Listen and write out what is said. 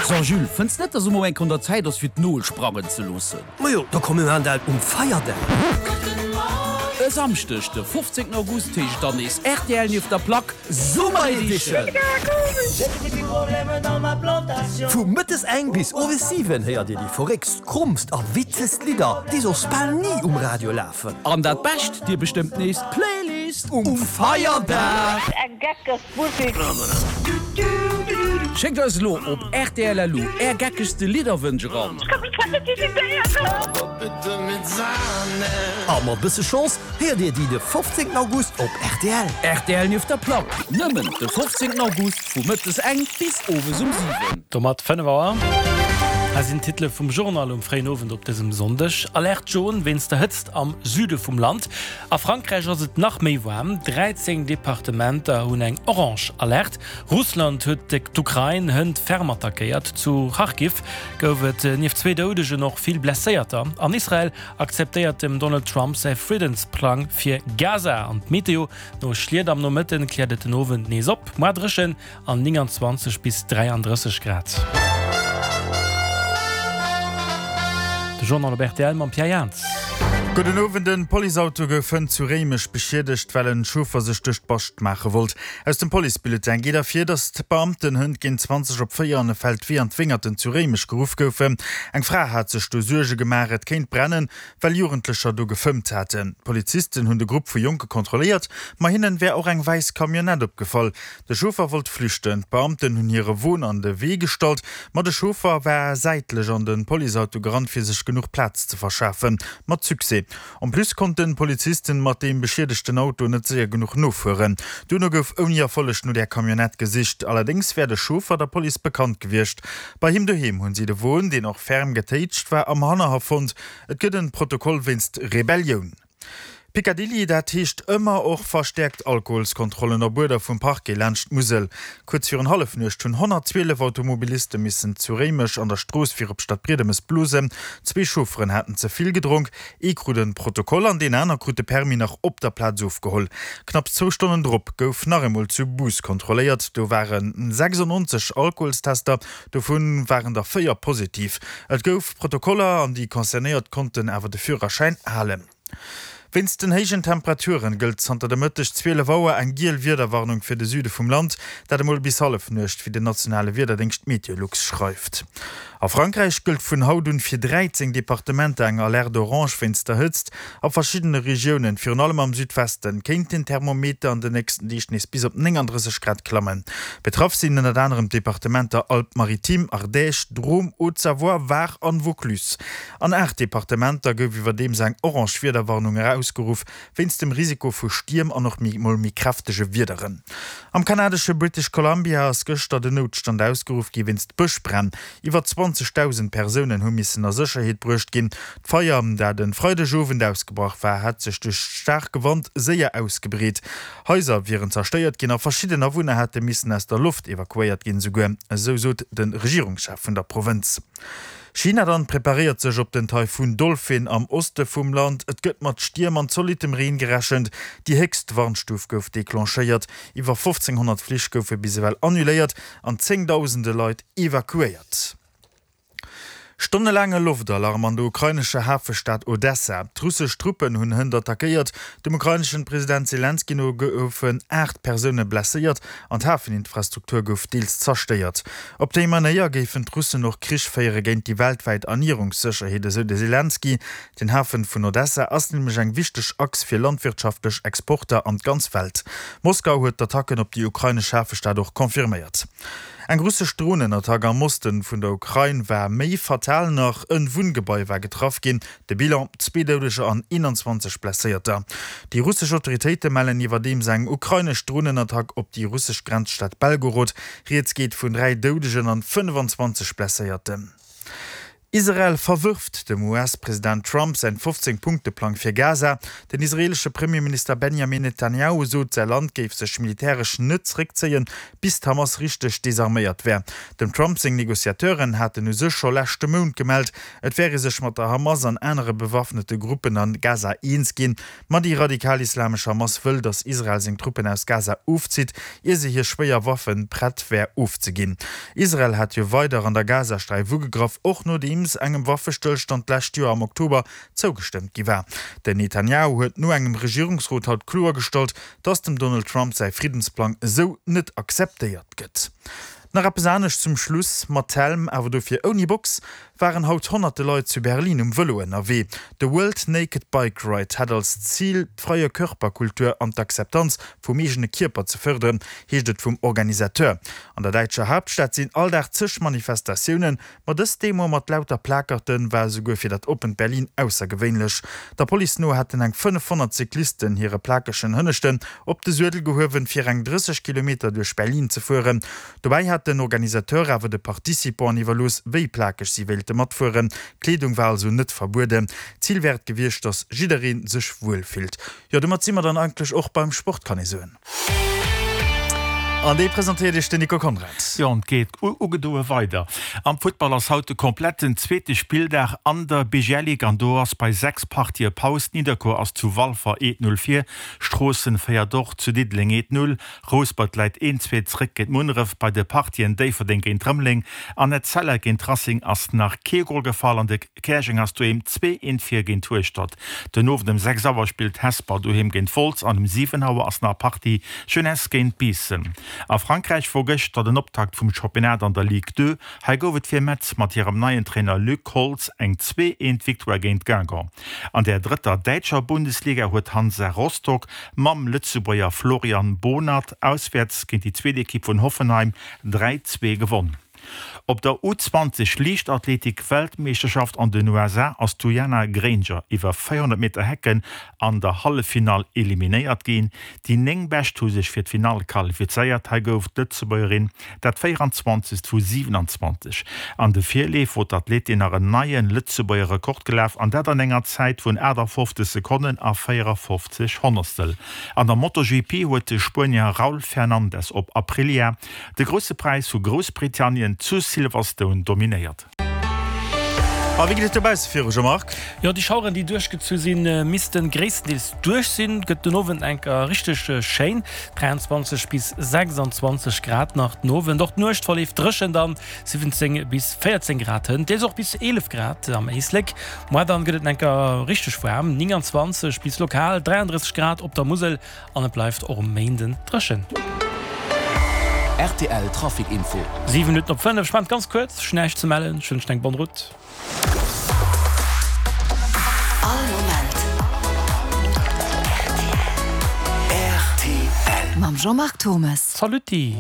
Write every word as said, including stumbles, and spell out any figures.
So Jules, fënns net, dass emol eng Kéier un der Zäit ass fir d'Nol sprangen ze loossen? Majo, da komm mir maachen dat um Feierdag. E Samschdeg de fofzéngten August heescht et dann nees rtl nieft der Plack Summer Edition! Vu mëttes eng bis owes siwen héiert dir déi verréckst, krommst a witzegst Lidder, déi soss bal ni um Radio lafen. An dat Bescht, dir bestëmmt nees d'Playlist um Feierdag! Eng geckeg Musik. Schéckt eis elo op rtl.lu är geckegste Lidderwënsch eran. A mat bësse Chance héiert dir déi de fofzéngten August op rtl. Rtl nieft der Plack, nëmmen de fofzéngten August vu mëttes eng bis owes um siwen. Domat fënnef Auer. Hei sinn d'Titele vum Journal um fréien Owend op dësem Sonndeg. Alerte jaune wéinst der Hëtzt am Süde vum Land. A Frankräich ass et nach méi waarm, dräizéng Departementer hunn eng orange Alerte. Russland huet d'Ukrain hënt ferm attackéiert. Zu Kharkiv gouf et nieft zwee Doudegen och vill Blesséierter. An Israel akzeptéiert dem Donald Trump säi Friddensplang fir Gaza. An d'Meteo, No Schliet am Nomëtten kläert et den Owend nees op. Muer dréchen an nénganzwanzeg bis dräiandrësseg Grad. De Journal op rtl mam Pierre Jans. Gudden Owend, En Policeauto gouf hënt zu Réimech beschiedegt, well en Chauffer sech duerch d'Bascht maache wollt. Aus dem Policebulletin geet ervir, datt d'Beamten hënt géint zwanzeg op véier an e Feldwee an d'Wéngerten zu Réimech geruff goufen. Eng Fra hat sech do Suerge gemaach, et kéint brennen, well Jugendlecher do gefëmmt haten. D'Polizisten hunn de Grupp vu Jonke kontrolléiert, ma hinnen wär och eng wäiss Camionnette opgefall. De Chauffer wollt flüchten, d'Beamten hunn hire Won an de Wee gestallt, ma de Chauffer war säitlech an de Policeauto gerannt, fir sech genuch Plaz ze verschafen. Mat Succès. En plus konnten d'Polizisten mat deem beschiedegten Auto net séier genuch nofueren. Duerno gouf ouni Erfolleg no där Camionnette gesicht. Allerdéngs wär de Chauffer der Police bekannt gewiescht. Bei him doheem hunn si de Won, deen och ferm getéitscht war, am Hannerhaff fonnt. Et gëtt en Protokoll wéinst Rebellioun. Picadilly, dat heescht ëmmer och verstäerkt Alkoholskontrollen op Uerder vum Parquet laanscht d'Musel. Kuerz virun Hallefnuecht hunn honnertzwielef Automobiliste missen zu Réimech an der Strooss fir op Stadbriedemes blosen. Zwee Chaufferen haten ze vill gedronk, ee krut e Protokoll an deen aner krut de Permis nach op der Plaz ofgeholl. Knapps zwou Stonnen drop gouf nach eemol zu Bous kontrolléiert. Do ware sechsundneunzeg Alkoholstester, dovu waren der véier positiv. Et gouf Protokoller an déi Concernéiert konnten awer de Führerschäin halen. Wéinst den héijen Temperaturen gëllt zanter de Mëtteg zwielef Auer eng giel Wiederwarnung fir de Süde vum Land, dat emol bis Hallefnuecht, wéi den nationale Wiederdéngscht Meteolux schreift. A Frankräich gëllt vun haut un fir dräizéng Departementer eng Alerte orange wéinst der Hëtzt. A verschiddene Regiounen, virun allem am Südwesten, kéint den Thermometer an den nächsten Deeg nees bis op nénganddrësseg Grad klammen. Betraff sinn ënnert anerem d'Departementer Alpes-Maritimes, Ardèche, Drôme, Haute-Savoie, Var an Vaucluse. An aacht Departementer gouf iwwerdeems eng orange Wiederwarnung erausgeruff, wéinst dem Risiko vu Stierm an och mol méi kräftege Wiederen. Am kanadesche British Columbia ass gëschter den Noutstand ausgeruff gi wéinst Bëschbränn. Iwwer zwanzegdausend Persounen hu missen a Sécherheet bruecht ginn. D'Feier, dat e Freidegowend ausgebrach war, hat sech duerch staarke Wand séier ausgebreet. Haiser wieren zerstéiert ginn a verschidden Awunner hätte missen aus der Loft evakuéiert ginn, esouguer esou sot de Regierungschef vun der Provënz. China dann preparéiert sech op den Taifun Dolphin am Oste vum Land. Et gëtt mat Stierm an zolittem Reen gerechent. Déi héchst Warnstuf gouf declenchéiert. Iwwer fofzénghonnert Flich goufe bis ewell annuléiert an zéngdausende Leit evakuéiert. Stonnelaange Loftalarm an der ukrainescher Hafestad Odessa. D'russesch Truppen hunn hënt attackéiert. Dem ukraineschen President Selenskyj no goufen aacht Persoune blesséiert an d'Hafeninfrastruktur gouf deels zerstéiert. Op déi Manéier géifen d'Russen och Krich féiere géint déi weltwäit Ernierungssécherheet, esou de Selenskyj. Den Hafen vun Odessa ass nämlech eng wichteg Achs fir landwirtschaftlech Exporter an d'ganz Welt. Moskau huet d'Attacken op déi ukrainesch Hafestad och confirméiert. Eng russesch Dronenattack am Osten vun der Ukrain war méi fatal nach, En Wunngebai war getraff ginn. De Bilan, zwee Doudeger an eenanzwanzeg Blesséierter. Déi russesch Autoritéite mellen iwwerdeems eng ukrainesch Dronenattack op déi russesch Grenzstad Belgorod. Rieds geet vun dräi Doudegen an fënnefanzwanzeg Blesséierten. Israel verwërft dem US-President Trump säin fofzéng Punkte-Plang fir Gaza. Den israeelesche Premierminister Benjamin Netanjahu sot, säi Land géif sech militäresch net zeréckzéien, bis d'Hamas richteg desarméiert wär. Dem Trump seng Negociateuren haten u sech scho leschte Mount gemellt, et wär ee sech mat der Hamas an anere bewaffnete Gruppen a Gaza eens ginn. Ma déi radikal-islamesch Hamas wëll, datt Israel seng Truppen aus Gaza ofzitt, ier se hir schwéier Waffe prett wär ofzeginn. Israel hat jo weider an der Gazasträif ugegraff, och nodeems engem Waffestëllstand d'lescht Joer am Oktober zougestëmmt gi war. Den Netanjahu huet no engem Regierungsrot haut kloergestallt, datt dem Donald Trump säi Friddensplang esou net akzeptéiert gëtt. Nach eppes anescht zum Schluss, Mat Helm, awer dofir ouni Box, waren haut honnerte Leit zu Berlin um Vëlo ënnerwee. De World Naked Bike Ride hätt als Zil, d'freie Körperkultur an d'Akzeptanz vum eegene Kierper ze fërderen, heescht et vum Organisateur. An der däitscher Haaptstad sinn all Dag zeg Manifestatiounen, ma dës Demo mat lauter Plakerte war esouguer fir dat oppent Berlin aussergewéinlech. Der Police no hätten eng fënnefhonnert Cyclisten hire plakegen Hënneschten op de Suedel gehuewen, fir eng drësseg Kilometer duerch Berlin ze fueren. Dobäi hat den Organisateur awer de Participanten iwwerlooss, wéi plakeg si wéilte matfueren. Kleedung war also net verbueden. Zil wär et gewiescht, datt jidderee sech wuel fillt. Jo, domat si mer dann eigentlech och beim Sport, kann ee soen. An dee presentéiert Iech den Nico Conrad. Jo, an et geet ugedoe weider. Am Futtball ass haut de kompletten zweete Spilldag an der B G L Ligue an do ass bei sechs Partië Paus. Nidderkuer ass zu Walfer eent Null vir, Stroossen féiert och zu Diddeleng eent Null, Rouspert läit een Zwee zréck géint Munneref. Bei de Partien Déifferdeng géint Rëmeleng an Etzella géint Racing ass nach kee Gol gefall an de Käerjeng ass doheem zwee eent vir géint Hueschtert. Den Owend um sechs Auer spillt Hesper doheem géint Wolz an um siwen Auer ass nach Partie Jeunesse géint Biissen. A Frankräich wor gëschter den Optakt vum Championnat an der Ligue deux. Hei gouf et fir Metz mat hirem neien Trainer Luc Holtz eng zwee eent Victoire géint Guingamp. An der drëtter däitscher Bundesliga huet Hansa Rostock mam Lëtzebuerger Florian Bohnert auswäerts géint déi zweet Ekipp vun Hoffenheim dräi zwee gewonn. Op der U zwanzeg Liichtathletik Weltmeeschterschaft an den U S A ass d'Ujana Granger iwwer véierhonnert Meter Hecken an der Halleffinall eliminéiert ginn. Déi néng Bescht hu sech fir d'Finall qualifizéiert. Hei gouf d'Lëtzebuergerin dat véieranzwanzegst vu siwenanzwanzeg. An de Virleef wor d'Athletin nach en neie Lëtzebuerger Rekord gelaf an dat an enger Zäit vun aachtafofzeg Sekonnen a véierafofzeg Honnertstel. An der MotoGP huet de Spuenier Raul Fernandez op Aprilia de Grousse Präis vu Groussbritannien zu Silverstone dominéiert. A wéi geet et dobausse viru, Jean-Marc? Jo, déi Schaueren, déi duerchgezu sinn, missten gréisstendeels duerch sinn. Gëtt den Owend enker richteg schéin, dräianzwanzeg bis sechsanzwanzeg Grad nach den Owend. Och d'Nuecht verleeft dréchen dann, siwwenzéng bis véierzéng Grad hënt, deels och bis eelef Grad am Éislek. Moar dann gëtt et enker richteg waarm, nénganzwanzeg bis lokal dräiandrësseg Grad op der Musel an et bleift och um Méinden dréchen. R T L Trafic Info. Siwe Minutten op fënnef, ech maachen et ganz kuerz, ech hunn näischt ze mellen, ech wënschen eng bonne route. All Moment R T L. Mam Jean-Marc Turmes. Saluti!